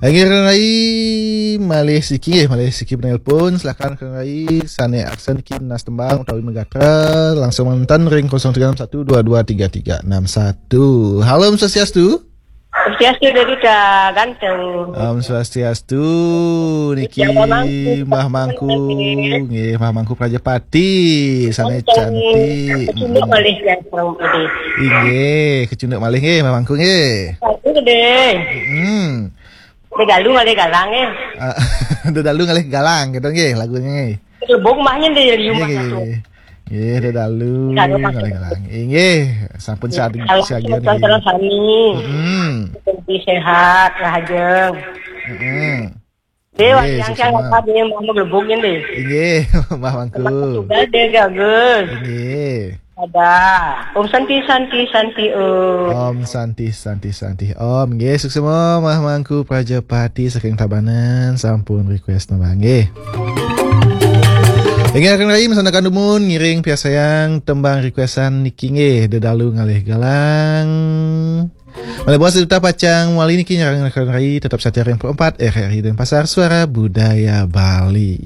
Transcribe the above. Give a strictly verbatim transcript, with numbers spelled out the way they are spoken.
Inggih, Kang Rai, malih siki, malih siki penelpon. Silakan, Kang Rai, sane aksen niki nunas tembang utawi megatra, langsung manten ring kosong tiga enam satu dua dua tiga tiga enam satu. Halo, Om Swastiastu. Swastiastu, Dedita ganteng. Om Swastiastu. Niki Mbah Mangku. Nggih, Mbah Mangku Prajapati. Sane cantik. Kecunduk malih, ya, Bang Budi. Inggih, kecunduk malih nggih, Mbah Mangku nggih. Satu deh. Hmm. Dedalu ngalih galang, eh. Ah, Dedalu ngalih galang gitu nggih lagune nggih. Lebung mahnya deh, liu. Nggih, mah nggih, satu. Nggih. Nggih, Dedalu ngalih galang. Inggih, sampun. Nggih, sadia, sampun sadia niki. Salam sami. Mm-mm. Sehat, rahajeng. Mm-mm. Dewa, nggih, yang sukses, saya Mbah. Apa dia mau lebung ini? Inggih, Mbah Mangku. Sudah deh, gagal. Inggih. Ada. Om Santi, Santi, Santi, Om. Om Santi, Santi, Santi, Om. Nggih, suksema Mbah Mangku Prajapati saking Tabanan sampun request nembang nggih. Inggih, Kang Rai, masandekan dumun ngiring piarsayang tembang requestan niki nggih, Dedalu ngalih galang. Malih buat sedaya pacang wali niki nyarengin Kang Rai, tetap setia ring empat R R I Denpasar, Suara Budaya Bali.